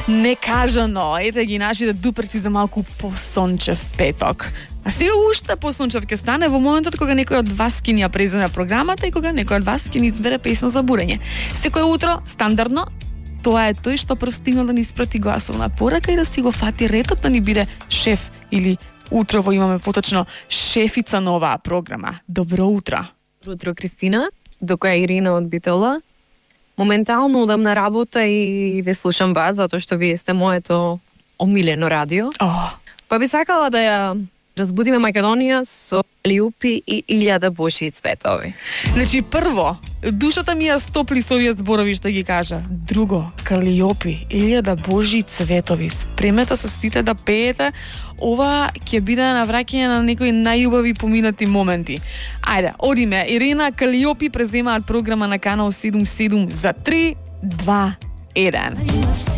Некажано, ете ги нашите дуперци за малку посончев петок. А сега уште посончев ќе стане во моментот кога некој од вас ќе ни ја преземе програмата и кога некој од вас ќе ни избере песна за бурење. Секој утро, стандардно, тоа е тој што прв стигна да ни испрати гласовна порака и да си го фати ретот да ни биде шеф или утрово имаме поточно шефица на оваа програма. Добро утро. Утро, Кристина, дока е Ирина од Битола. Моментално одам на работа и ве слушам вас, затоа што вие сте моето омилено радио. Па би сакала да ја разбудиме Македонија со Калиопи и 1000 божји цветови. Значи, прво, душата ми ја стопли со овие зборови што ги кажа. Друго, Калиопи, 1000 божји цветови. Спремете се сите да пеете. Ова ќе биде навраќање на некои најубави поминати моменти. Ајде, одиме. Ирина, Калиопи преземаат програма на Канал 77 за 3, 2, 1.